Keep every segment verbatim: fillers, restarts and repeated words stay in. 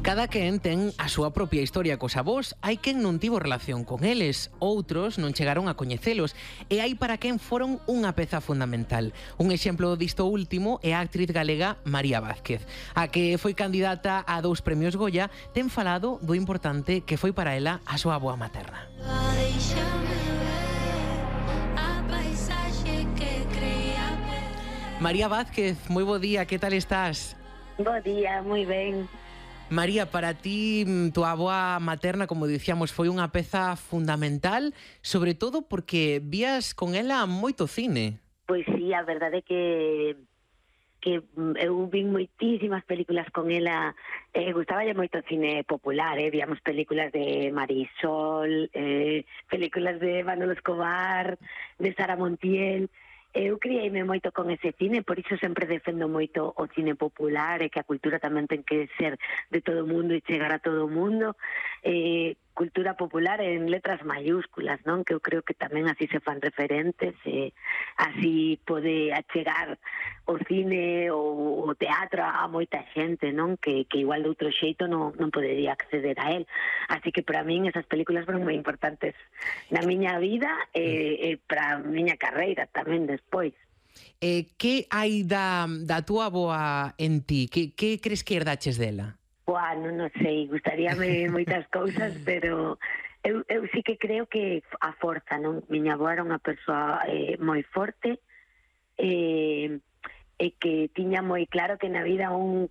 Cada quen ten a súa propia historia cos avós. Hai quen non tivo relación con eles, outros non chegaron a coñecelos, e hai para quen foron unha peza fundamental. Un exemplo disto último é a actriz galega María Vázquez, a que foi candidata a dous premios Goya. Ten falado do importante que foi para ela a súa avoa materna. María Vázquez, moi bo día, que tal estás? Bo día, moi ben. María, para ti, tu avoa materna, como dicíamos, foi unha peza fundamental, sobre todo porque vías con ela moito cine. Pois sí, a verdade é que que eu vin moitísimas películas con ela. Eh, gustaballe moito o cine popular, eh? Víamos películas de Marisol, eh, películas de Manolo Escobar, de Sara Montiel. Eu criei-me moito con ese cine, por iso sempre defendo moito o cine popular, e que a cultura tamén ten que ser de todo o mundo e chegar a todo o mundo. Eh, cultura popular en letras mayúsculas, non? Que eu creo que tamén así se fan referentes, e así pode achegar o cine ou o teatro a moita xente, non? Que, que igual de outro xeito non, non podería acceder a él. Así que para min esas películas foron moi importantes na miña vida e, e para a miña carreira tamén despois. Eh, que hai da, da túa avoa en ti? Que, que crees que herdaches dela? Buah, non, non sei, gustaríame moitas cousas, pero eu, eu sí que creo que a forza, non? Miña avó era unha persoa eh, moi forte, e, e que tiña moi claro que na vida un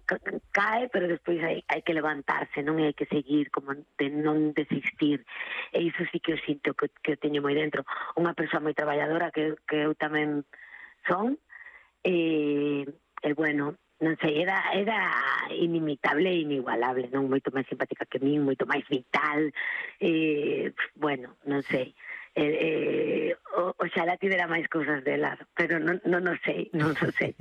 cae, pero despois hai, hai que levantarse, non? E hai que seguir, como de non desistir. E iso sí que eu sinto que, que eu teño moi dentro. Unha persoa moi traballadora, que, que eu tamén son, e, e bueno, non sei, era, era inimitable e inigualable, non? Moito máis simpática que min, moito máis vital, eh, bueno, non sei. Eh, eh, o, oxalá tivera máis cousas dela, pero non, non o sei, non o sei.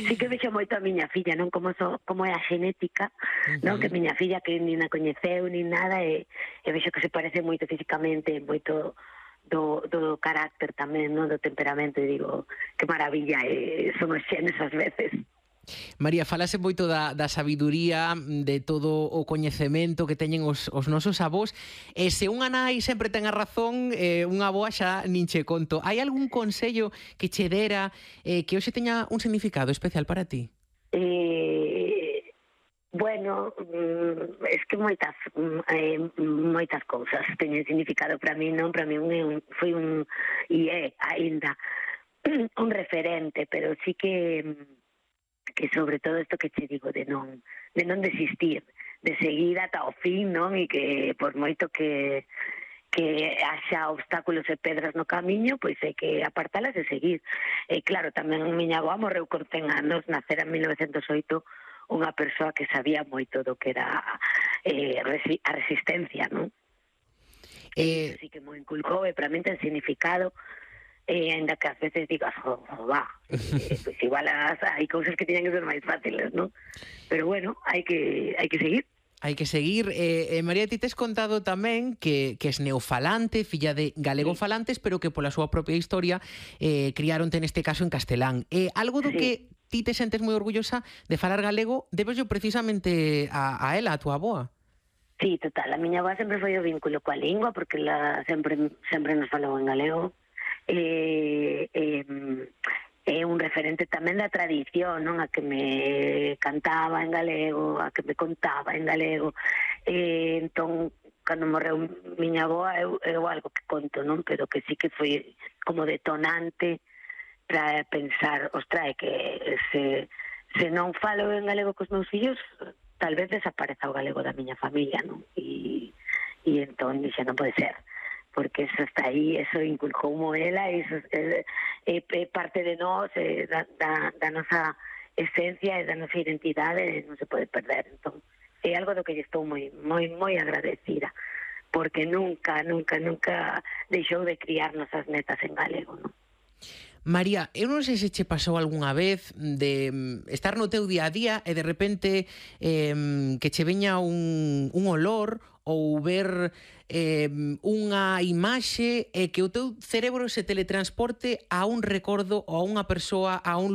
Sí que vexo moito a miña filla, non? Como, so, como é a genética, non? Que miña filla que nin a coñeceu, nin nada, e, e vexo que se parece moito físicamente, moito do, do carácter tamén, non? Do temperamento, e digo, que maravilla, e son os xenes ás veces. María, falase moito da, da sabiduría, de todo o coñecemento que teñen os, os nosos avós, e se unha nai sempre ten a razón, eh, unha avoa xa nin che conto. Hai algún consello que che dera eh, que hoxe teña un significado especial para ti? Eh, bueno, es que moitas eh, moitas cousas teñen significado para mí, non? Para mí un, foi un, e é aínda un referente, pero sí que que sobre todo isto que che digo de non de non desistir, de seguir ata o fin, non? E que por moito que que haxa obstáculos e pedras no camiño, pois é que apartalas e seguir. E claro, tamén miña avó morreu con cen anos, nacera en mil novecentos e oito, unha persoa que sabía moito do que era eh, a resistencia, non? Eh... E sí que mo inculcou, e para mí ten significado. E ainda que ás veces digas, jo, jo, va, eh, pues igual as, hai cousas que tiñan que ser máis fáciles, non? Pero bueno, hai que hai que seguir. Hai que seguir. Eh, eh, María, ti tes contado tamén que, que es neofalante, filla de galegofalantes, sí, pero que pola súa propia historia eh, criaronte neste caso en castelán. Eh, algo do sí. que ti te sentes moi orgullosa de falar galego, debes yo precisamente a, a ela, a tua avoa. Sí, total. A miña avoa sempre foi o vínculo coa lingua, porque la sempre sempre nos falou en galego. Eh, eh, é un referente tamén da tradición, non? A que me cantaba en galego, a que me contaba en galego. Eh, entón, cando morreu miña avoa, eu, eu algo que conto, non? Pero que sí que foi como detonante para pensar, ostra, é que se, se non falo en galego cos meus fillos, tal vez desapareza o galego da miña familia, non? E, e entón, xa non pode ser, porque eso está aí, eso inculcou ela, eso é, é, é parte de nós, é, da, da, da nosa esencia e da nosa identidade, non se pode perder. Entón, é algo do que estou moi, moi, moi agradecida, porque nunca, nunca, nunca deixou de criar nosas netas en galego, non? María, eu non sei se che pasou algunha vez de estar no teu día a día e de repente eh, que che veña un, un olor ou ver eh, unha imaxe e que o teu cerebro se teletransporte a un recordo ou a unha persoa, a un lugar